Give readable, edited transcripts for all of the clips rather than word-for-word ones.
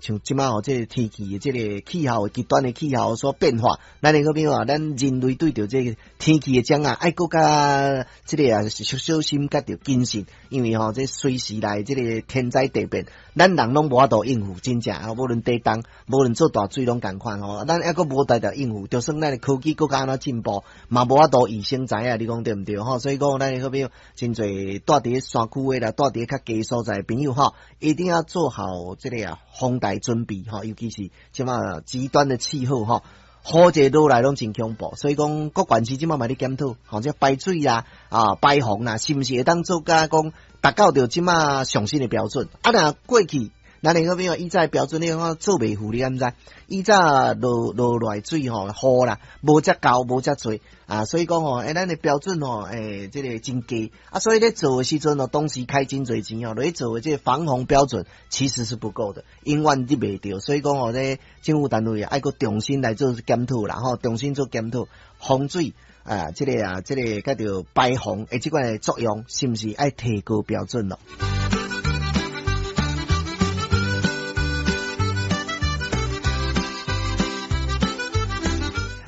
像這馬吼，這个天氣，這个氣候極端的氣候所變化，咱的好朋友啊，咱人類對著這个天氣的掌握，愛閣較這个啊，小心佮著謹慎，因為吼，這隨時來這个天災地變，咱人攏無法度應付，真正啊，無論地動，無論做大水攏仝款吼，咱猶閣無當度應付，就算咱的科技閣較按怎進步，嘛無法度預先知影，你講對毋對吼？所以講，咱的好朋友真濟蹛佇咧山區的啦，蹛佇咧較低所在的朋友吼，一定要做好這个啊防台準備吼，尤其是這馬極端的氣候吼，雨一落來攏真恐怖，所以講各縣市這馬嘛咧檢討，吼，這排水啊、啊排洪啊，是毋是會當做甲講達到著這馬上新的標準？啊，若過去，咱的好朋友以早的標準，你看做袂赴，你敢知？以早落落來水吼，雨啦，無遮厚，無遮濟啊，所以講吼，咱的標準吼，這个真低啊，所以咧做的時陣哦，當時開真濟錢哦，來做的這个防洪標準其實是不夠的，永遠入袂著，所以講吼，這政府單位啊，愛閣重新來做檢討啦，吼，重新做檢討，防水啊，這个啊，這个叫做排洪的這款的作用，是毋是愛提高標準咯？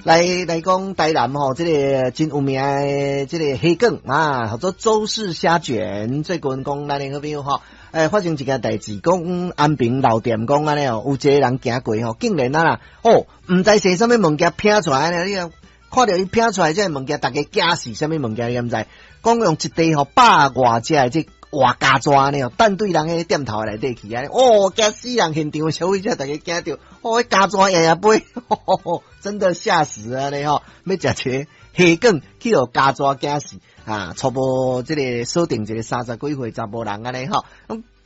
來來講台南吼，這个真有名的這個蝦卷啊，叫做周氏蝦卷。最近講咱的好朋友吼，發生一件代誌，講安平老店講按呢哦，有一个人行過吼，竟然啊啦，哦，毋知踅啥物物件拚出來呢？你看著伊拚出來這个物件，逐家驚死，啥物物件你敢知？講用一塊吼百外隻的這活膠紙按呢哦，彈對人彼店頭內底去按呢，哦，驚死人！現場的消費者逐家驚著，哦，彼膠紙掖掖飛，真的嚇死啊！呢吼，欲食一個蝦卷去予膠紙驚死啊！初步這个鎖定一個三十幾歲查埔人按呢吼，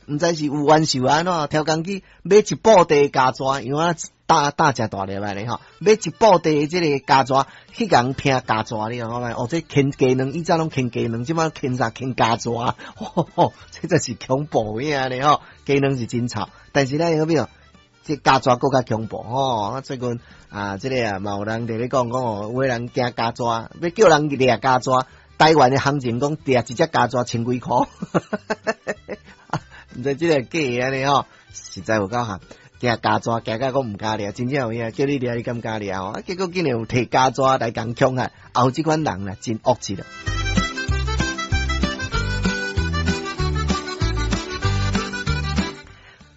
毋知是有冤仇按怎，刁工去買一布袋膠紙，因為我大大隻大粒按呢吼，買一布袋這个膠紙去共拚膠紙，你看覓？哦，這牽雞卵，以前攏牽雞卵，這擺牽啥？牽膠紙，這真是恐怖的按呢吼，雞卵是真臭，但是咱好比哦，這膠紙閣較恐怖吼。啊，最近啊，這个啊，嘛有人佇咧講講哦，有的人驚膠紙，欲叫人掠膠紙，台灣的行情講掠一隻膠紙千幾箍，毋知這个假的按呢吼，實在有夠慘。驚膠紙，驚甲講毋敢掠，真正有影，叫你掠你敢敢掠吼？啊，結果竟然有提膠紙來共恐嚇，也有這款人啦，真惡質了。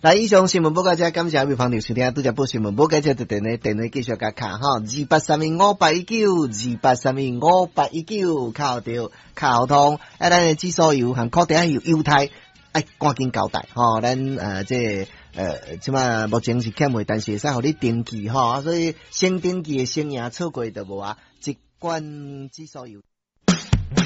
來，以上新聞報告這，感謝各位朋友收聽，拄才報新聞報告這，就電話電話繼續共敲吼，28315819，28315819，敲著敲通，啊，咱的指數油和固定油猶太，愛趕緊交代吼，咱這個這馬目前是欠賣，但是會使予你登記吼，所以先登記的先贏，錯過就無啊，一罐指數油。